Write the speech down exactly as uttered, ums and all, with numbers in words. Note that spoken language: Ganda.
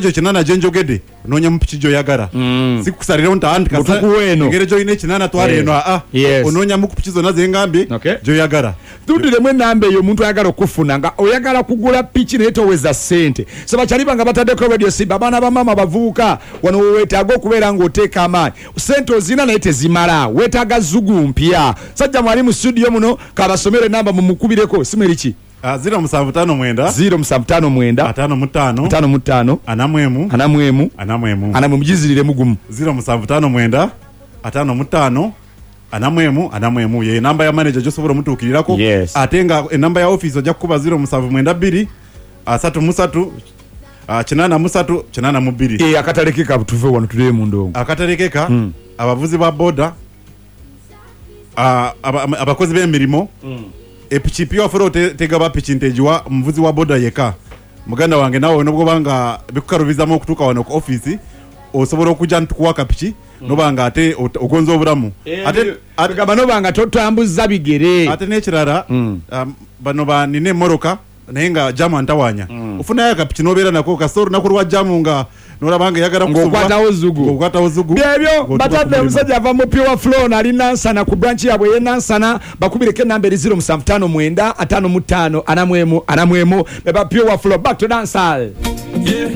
Egyo kinana gyenjogedde, onoonya mu piki gy'oyagala. Sikusalirawo nti anti kasa- Mutukuwa eno. Engeri gy'olina ekinana, twala Eh. eno. Aa, Yes. onoonyamu ku piki zonna zengambye Okay. gy'oyagala. Tuddulemu enamba eyo, omuntu ayagala okufuna nga oyagala kugula piki naye toweza ssente. So bakyaliba nga bataddeko Radio Simba, abaana bamaama, bavubuka, wano weweetaaga okubeera ng'oteeka amaanyi. Ssente ozina naye tezimala, weetaaga zugu mpya. Sajja mwali mu studio muno, kabasomere enamba mumukubireko. Simu eriki? Ah, ziro musanvu ttaano mwenda, ziro musanvu ttaano mwenda, ataano mu ttaano, ataano mu ttaano, ana mu emu, ana mu emu, ana mu emu. ana mu. Mugiziriremu gumu. ziro musanvu ttaano mwenda, ataano mu ttaano, ana mu emu, ana mu emu, ye namba ya manager gyosobola omutuukirirako. Yes. Ate nga enamba ya office ojja kukuba ziro musanvu mwenda bbiri, asatu mu ssatu, ah, kinaana mu ssatu, kinaana mu bbiri. Eh, akatale ke kabutuve wano, tulebe mu ndongo. Akatale keka, abavuzi ba boda, ah, aba- aba- abakozi b'emirimu, epiki Pure Flow te- tegaba piki nti egiwa omuvuzi wa boda yeka. Muganda wange, nawe nobwoba nga bikukalubizamu okutuuka wano ku office, osobola okujja ntukuwa akapiki noba nga ate ot- ogonza obulamu. Ate- ate- Gamba noba nga totambuza bigere. Ate n'ekirala, um, bano banina emmotoka naye nga jamu antawanya, ofunayo akapiki nobeera nako kasita olunaku lwa jamu nga nolaba nga eyagala Ng'okwatawo zugu. Ng'okwatawo zugu. Byebyo. Ng'otuuka ku Batadde mulimu. Omusajja ava mu Pure Flow, nali Nansana ku branch yabwe ey'enansana. Bakubireko enamba eri ziro musanvu ttaano mwenda, ataano mu ttaano, ana mu emu, ana mu emu. Beba Pure Flow. Back to dancehall. Yeah.